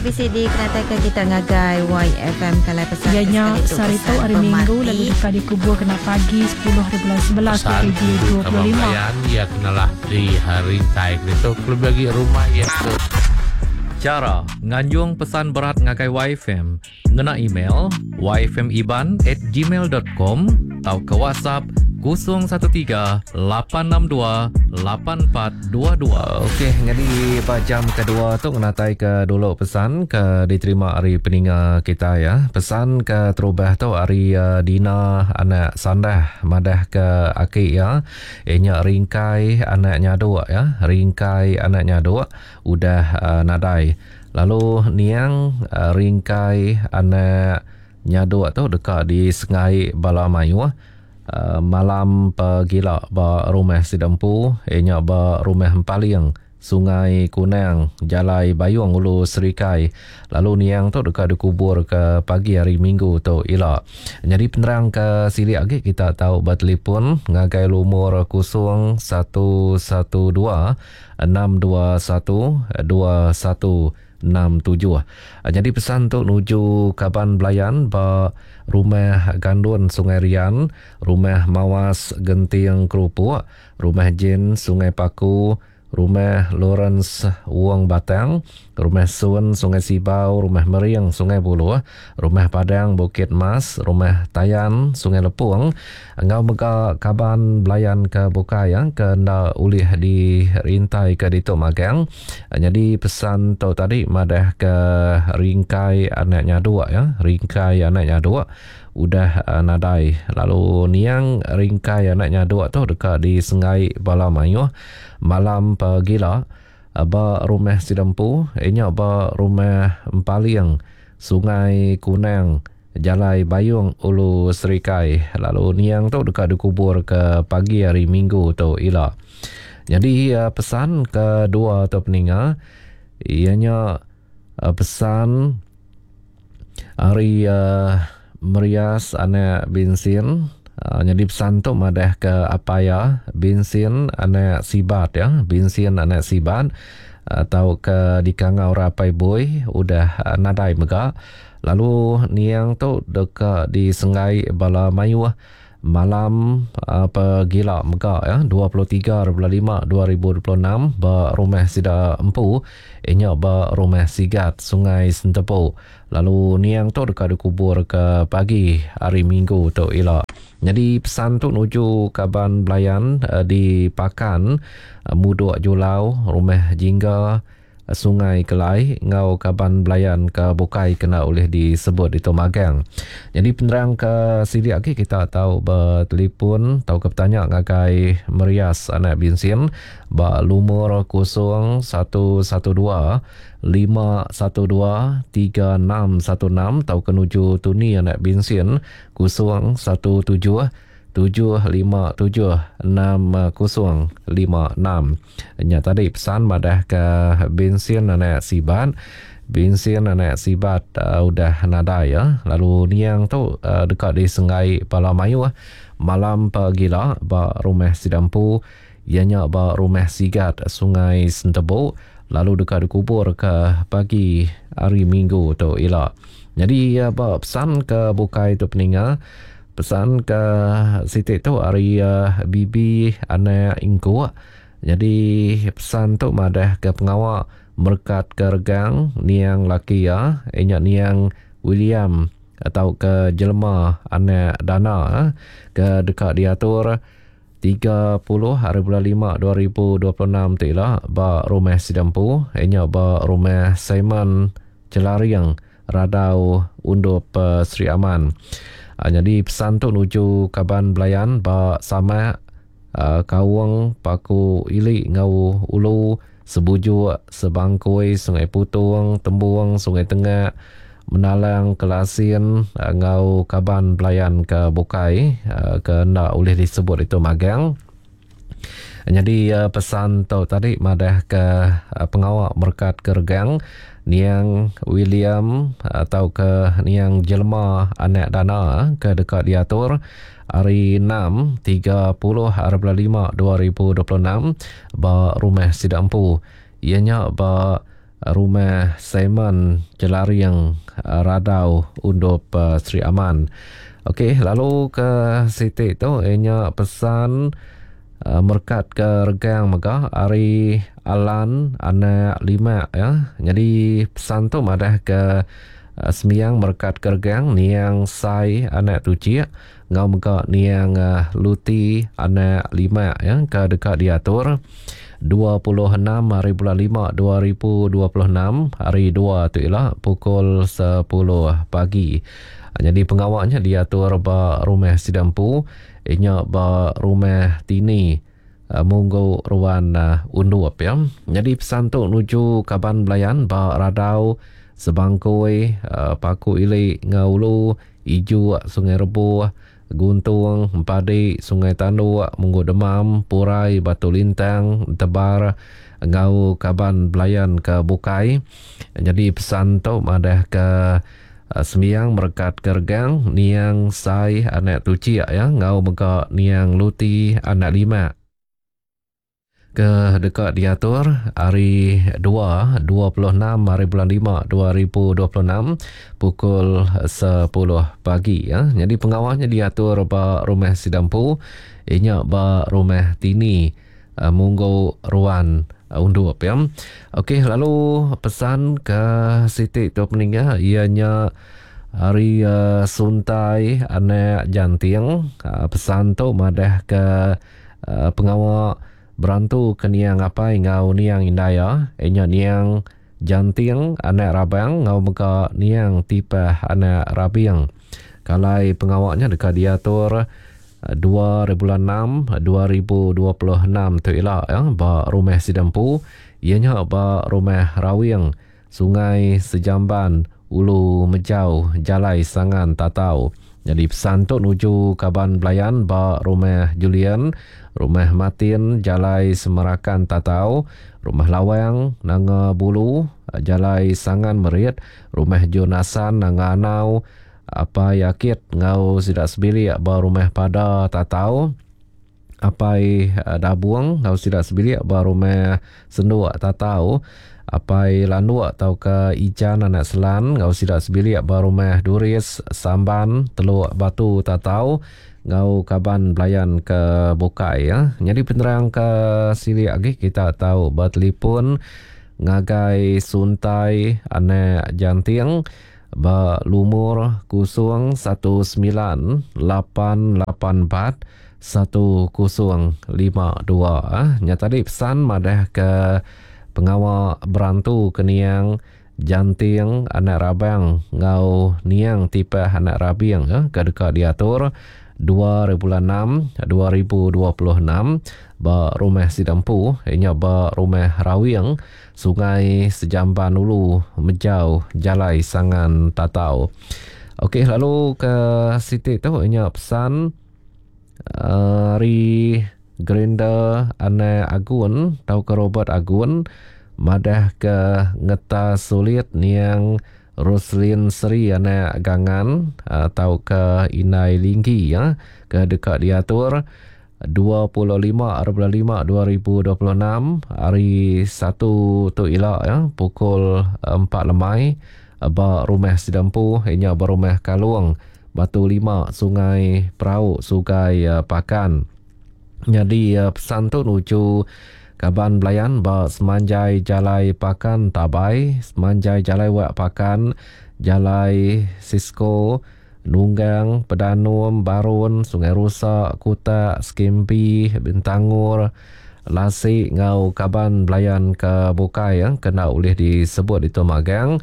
Bisi dikenataika kita ngagai YFM Kalai Pesan Iya ke nya sekali tu sehari tu pesan hari Minggu pemati. lalu deka dikubur kena pagi 10 haribulan 11 Pesan tuju kaban 2025. belayan iya kenalah di rintai ditu kelebih agi rumah iya ke. Chara nganjung pesan berat ngagai YFM ngena email yfmiban@gmail.com tauka WhatsApp 013 862 8422. Okey, nyadi ba jam kedua tu ngenatai ke dulu pesan ke diterima ari peninga kitai ya. Pesan ke terubah tu ari uh, Dina anak Sandah madah ke aki iya iya nya Ringkai anak Nyaduk ya. Ringkai anak Nyaduk udah uh, nadai. Lalu niang uh, Ringkai anak Nyaduk tu deka disengai bala mayuh malam pegila ba rumah sida empu iya nya ba Rumah Empaling, Sungai Kunang, Jalai Bayong Ulu Serikai lalu niang tu deka dikuburka pagi hari Minggu tu ila. Nyadi penerang ke silik agi kita tau betelefon ngagai lumur 011 2 621 21 67. Nyadi pesan tu nuju kaban belayan ba Rumah Gandun Sungai Rian, Rumah Mawas Genting Kerupuk, Rumah Jane Sungai Paku, Rumah Lawrence Wong Batang, Rumah Sun Sungai Sibau, Rumah Mering Sungai Buluh, Rumah Padang Bukit Mas, Rumah Tayan Sungai Lepung enggau mega kaban belayan ke bukai ke enda ulih dirintaika ditu magang. Nyadi pesan tu tadi madah ke ringkai anak nyaduk ya, ringkai anak nyaduk udah nadai lalu niang ringkai anak nyaduk tu deka disenggai bala mayuh malam pegila ba rumah sida empu iya nya ba rumah Empaling Sungai Kunang Jalai Bayong Ulu Serikai lalu niang tu deka dikubur ke pagi hari Minggu tu ila. Nyadi pesan kedua tu peninga iya nya pesan ari Merias anak Binsin. Nyadi pesan tu madah ke apai iya Binsin anak Sibat ya, Binsin anak Sibat tauka dikangau orang apai Bui udah nadai mega. Lalu niang tu deka disenggai bala mayuh malam pegila mega ya 23 bulan 5 2026 ba rumah sida empu iya nya ba Rumah Sigat Sungai Sentepu. Lalu niang tu deka dikubur ke pagi hari Minggu tu ila. Nyadi pesan tu nuju kaban belayan di Pakan, Mudok Julau, Rumah Jingga, Sungai Kelai enggau kaban belayan ke bukai kena ulih disebut ditu magang. Nyadi penerang ke silik agi kita tau betelefon tauka betanya ngagai Merias anak Binsin ba lumur 012 512 3616 tauka nuju Tuni anak Binsin 017 7576056. Nya tadi pesan madah ke bensin anak Sibat. Bensin anak Sibat uh, udah nadai ya. Lalu niang tu uh, deka disenggai bala mayuh malam pagila ba rumah sida empu iya nya ba rumah Sigat Sungai Sentebu lalu deka dikubur ke pagi hari Minggu tu ila. Nyadi ba pesan ke bukai tu peninga Pesan ke siti tu ari Bibi anak Ingkuk. Nyadi pesan tu madah ke pengawa merekat ke regang niang laki iya, iya nya niang William tauka Jelema anak Dana ke deka diatur 30 hari bulan 5 2026 tu ila ba rumah sida empu, iya nya ba rumah Simon Chelaring Radau Undup Sri Aman. Nyadi pesan tu nuju kaban belayan ba Samak, Kaung, Paku Ili enggau Ulu, Sebujuk, Sebangkoi, Sungai Putong, Tembung, Sungai Tengak, Menalang, Kelasin enggau kaban belayan ke bukai ke enda ulih disebut ditu magang. Nyadi pesan tu tadi madahka pengawa merekat ke regang niang William tauka niang Jelema anak Dana ke deka diatur hari 6 30 hari bulan 5 2026 ba rumah sida empu iya nya ba. Rumah Simon Jelaring Radau Undup Sri Aman. Okey, lalu ke siti tu iya nya pesan merekat ke regang mega ari Alan anak Limak ya. Nyadi pesan tu madah ke sembiang merekat ke regang niang Sai anak Tuchik enggau mega niang Luti anak Limak ya ke deka diatur 26 hari bulan 5 2026 hari 2 tu ila pukul 10 pagi. Nyadi pengawa nya diatur ba rumah sida empu inya ba rumah Tini Munggu Ruan Undup ya. Nyadi pesan tu nuju kaban belayan ba Radau Sebangkoi Paku Ili enggau Ulu Ijuk, Sungai Rebuh, Guntung, Empadi, Sungai Tanduk, Munggu Demam, Purai, Batu Lintang, Entebar enggau kaban belayan ke bukai. Nyadi pesan tu madahka sembiang merekatka regang niang Sai anak Tuchik iya enggau mega niang Luti anak Limak. Ke deka diatur hari Dua, 26 hari bulan 5 2026 pukul 10 pagi. Ya. Nyadi pengawa nya diatur ba rumah sida empu iya nya ba rumah Tini eh, Munggu Ruan eh, Undup ya. Okey lalu pesan ke siti tu peninga iya nya hari uh, Suntai anak Janting uh, pesan tu madah ke Pengawa berantu ke niang apai enggau niang indai iya, iya nya niang Janting anak Rabang enggau mega niang Tipah anak Rabing. Kalai pengawa nya deka diatur 2 hari bulan 6 2026 tu ila ba rumah sida empu iya nya ba Rumah Rawing, Sungai Sejamban, Ulu Mejau, Jalai Sangan Tatau. Nyadi pesan tu nuju kaban belayan ba Rumah Julian, Rumah Martin, Jalai Semerakan Tatau, Rumah Lawang, Nanga Bulu, Jalai Sangan Merit, Rumah Jonasan, Nanga Anau, Apai Akit enggau sida sebilik ba Rumah Pada Tatau, Apai Dabung enggau sida sebilik ba Rumah Senduk Tatau, Apai Landuk tauka Ijan anak Selan enggau sida sebilik ba Rumah Duris Samban Teluk Batu Tatau enggau kaban belayan ke bukai. Nyadi penerang ke silik agi kita tau betelefon ngagai Suntai anak Janting ba lumur 019 884 1052. Nya tadi pesan madah ke pengawa berantu ke niang Janting anak Rabang enggau niang Tipah anak Rabing ke deka diatur 2 hari bulan 6 2026 ba rumah sida empu iya nya ba Rumah Rawing Sungai Sejamban Ulu Mejau Jalai Sangan Tatau. Okey lalu ke siti tu iya nya pesan Ari Grinder anak Agun tauka Robert Agun madah ke ngetas sulit niang Roslin Seri anak Gangan tauka Indai Linggi ke deka diatur 25 bulan 5 2026 hari Satu tu ila pukul 4 lemai ba Rumah Sida Empu iya nya ba Rumah Kalong Batu 5 Sungai Perau Sugai Pakan. Nyadi pesan tu nuju kaban belayan ba semanjai Jalai Pakan Tabai, semanjai Jalai Wak Pakan, Jalai Sisko, Nunggang, Pedanum, Barun, Sungai Rusa, Kutak, Skimpi, Bintangor, Lasi enggau kaban belayan ke bukai ke enda ulih disebut ditu magang.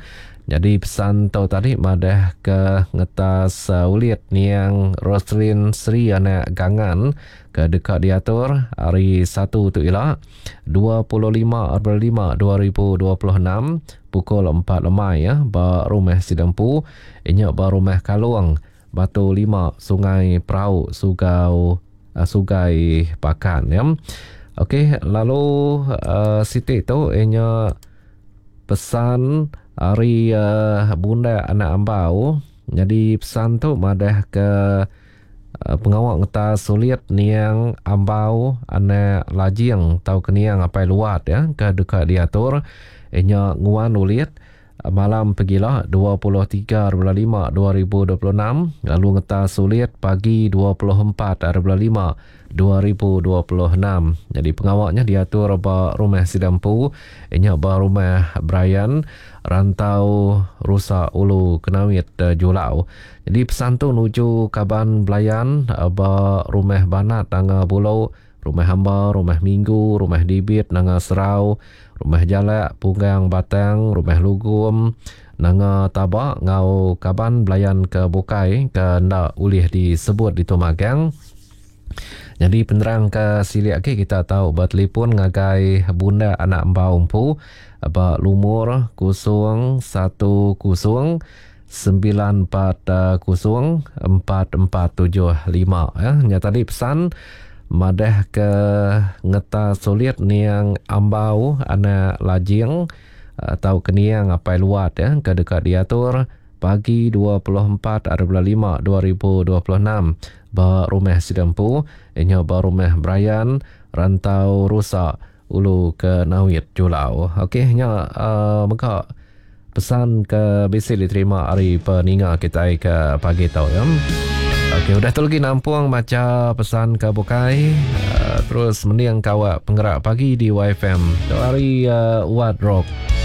Nyadi pesan tu tadi madah ke ngetas ulit niang Roslin Sri anak Gangan ke deka diatur hari Satu tu ila 25 April 5 2026 pukul 4 lemai ba Rumah Sida Empu inya ba Rumah Kalong Batu 5 Sungai Perau Sugau Sugai Pakan ya. Okey lalu uh, siti tu inya Pesan ari Bundak anak Ambau nyadi pesan tu madah ke pengawa ngetas sulit niang Ambau anak Lajing tauka niang Apai Luat ya ke deka diatur. nya nguan ulit malam pegila 23 hari bulan lima 2026 lalu ngetas ulit pagi 24 hari bulan lima 2026. Nyadi pengawa nya diatur ba rumah sida empu nya ba rumah Brian Rantau Rusa Ulu Kenawit Julau. Nyadi pesan tu nuju kaban belayan ba rumah Banat Nanga Bulo, Rumah Hamba, Rumah Minggu, Rumah Dibit Nanga Serau, Rumah Jalak, Punggang Batang, Rumah Lugum, Nanga Taba enggau kaban belayan ke bukai ke enda ulih disebut ditu magang. Nyadi penerang ke silik agi kita tau betelefon ngagai Bundak Anak Embau empu ba lumur 010 940 4475 ya. Nya tadi pesan madah ke ngeta sulit niang Ambau anak Lajing atau ke niang Apai Luat ya ke deka diatur pagi 24 hari bulan 5 2026 ba rumah sida empu nya ba rumah Brian Rantau Rusa Ulu ke Nawit Julau. Okey nya uh, mega pesan ke bisi diterima ari peninga kitai ke pagi tu ya. Okey udah tu lagi nampung macha pesan ke bukai uh, terus mending kawak penggerak pagi di YFM. Tu hari uh, Wat Rock.